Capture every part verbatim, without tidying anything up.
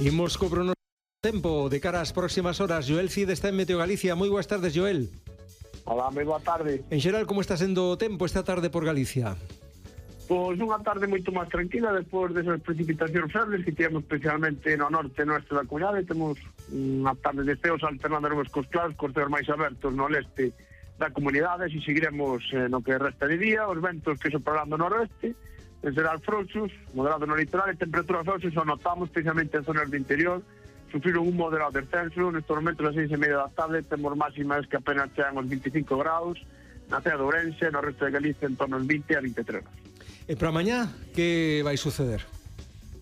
Imos co pronóstico tempo de cara ás próximas horas. Joel Cid está en Meteo Galicia. Moi boas tardes, Joel. Hola, moi boa tarde. En xeral, como está sendo o tempo esta tarde por Galicia? Pois unha tarde moito máis tranquila despois desas precipitacións febles que temos especialmente no norte e no oeste da comunidade. Temos unha tarde de ceos alternando nubes cos claros, cos ceos máis abertos no leste da comunidade, e seguiremos eh, no que resta de día. Os ventos que soprarán do noroeste, en xeral frouxos, moderado no litoral, e temperaturas frouxos o notamos especialmente en zonas do interior. Sufriron un moderado descenso. Nestes momentos as seis e media da tarde temos máximas que apenas chegan aos veinticinco graus na cidade de Ourense, no resto de Galicia en torno aos vinte a vinte e tres. E para mañá, que vai suceder?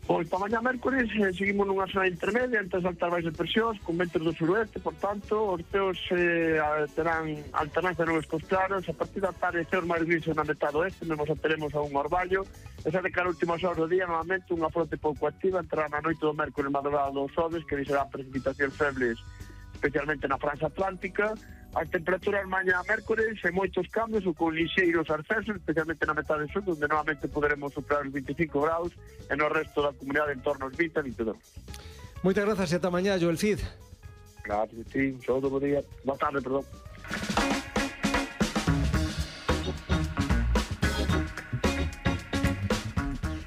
Pois para mañá mércores eh, seguimos nunha zona intermedia entre as altas baixas presións con ventos do suroeste, por tanto os ceos eh, terán alternancia de nubes cos claros. A partir da tarde ceos máis grises na metade oeste, mesmo xa teremos a un orballo. E xa de cara a últimas horas do día, novamente unha fronte pouco activa entrará na noite do mércores madrugada dos xoves, que deixará precipitacións febles especialmente na Franxa Atlántica. As temperaturas mañá mércores e moitos cambios ou con lixeiros ascensos, especialmente na metade sur, onde novamente poderemos superar os veinticinco graus, e no resto da comunidade en torno aos vinte a vinte e dos. Moitas grazas e ata mañá, Joel Cid. Gracias, sí, un saúdo, bo día. Boa tarde, perdón.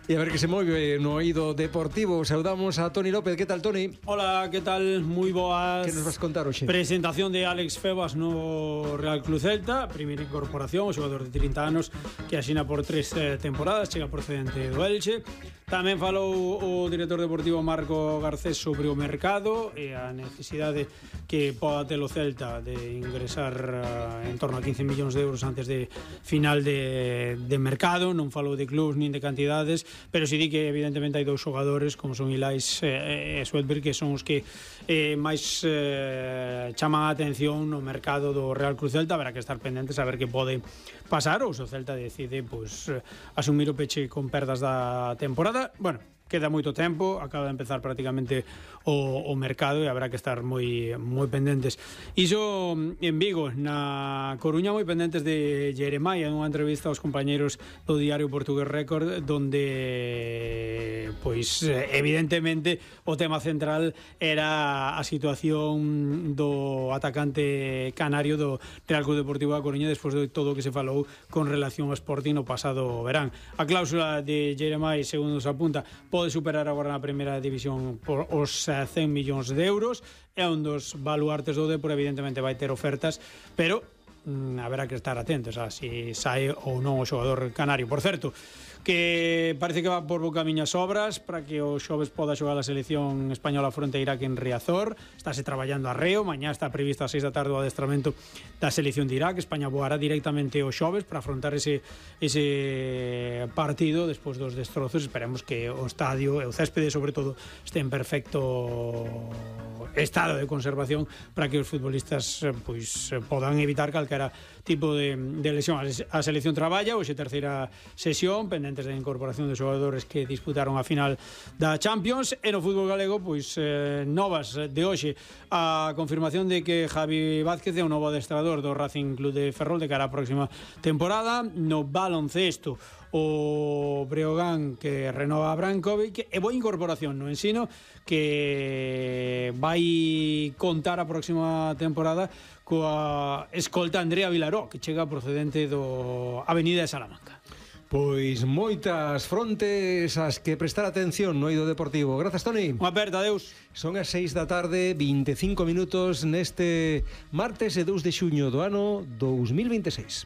E a ver que se move no oído deportivo. Saudamos a Toni López. Que tal, Toni? Hola, que tal? Moi boas. Que nos vas contar hoxe? Presentación de Alex Febas no Real Club Celta. Primeira incorporación, o xogador de trinta anos que asina por tres eh, temporadas, chega procedente do Elche. Tamén falou o director deportivo Marco Garcés sobre o mercado e a necesidade que poda ter o Celta de ingresar uh, en torno a quince millóns de euros antes de final de, de mercado. Non falou de clubs nin de cantidades, pero si di que evidentemente hai dous xogadores como son Ilais e eh, Sweatberg, que son os que eh, máis eh, chaman a atención no mercado do Real Cruz Celta. Haberá que estar pendentes a ver que pode pasar, ou se o Celta decide pues, asumir o peche con perdas da temporada. Bueno, queda moito tempo, acaba de empezar prácticamente o, o mercado e habrá que estar moi moi pendentes. Iso en Vigo, na Coruña, moi pendentes de Jeremai, en unha entrevista aos compañeros do diario Portugués Record, donde pois evidentemente o tema central era a situación do atacante canario do Real Club Deportivo da Coruña despois de todo o que se falou con relación ao Sporting no pasado verán. A cláusula de Jeremai, segundo se apunta, pode superar agora na primeira división por os cen millóns de euros. É un dos baluartes do Depor, evidentemente vai ter ofertas, pero mm, haberá que estar atentos a si sae ou non o xogador canario. Por certo, que parece que va por bo camiño as obras para que o xoves poda xogar a selección española fronte a Irak en Riazor. Estáse traballando a reo. Mañá está previsto a seis da tarde o adestramento da selección de Irak. España voará directamente o xoves para afrontar ese, ese partido despois dos destrozos. Esperemos que o estadio e o céspede, sobre todo, este en perfecto estado de conservación para que os futbolistas pois podan evitar calquera tipo de, de lesión. A selección traballa hoxe terceira sesión pendentes da incorporación de xogadores que disputaron a final da Champions. E no fútbol galego pois eh, novas de hoxe, a confirmación de que Javi Vázquez é o novo adestrador do Racing Club de Ferrol de cara á próxima temporada. No baloncesto, o Breogán que renova a Brankovic, e boa incorporación no Ensino que vai contar a próxima temporada coa escolta Andrea Vilaró, que chega procedente do Avenida de Salamanca. Pois moitas frontes as que prestar atención no eido deportivo. Grazas, Toni. Unha aperta, adeus. Son as seis da tarde, vinte e cinco minutos neste martes e dous de xuño do ano dous mil vinte e seis.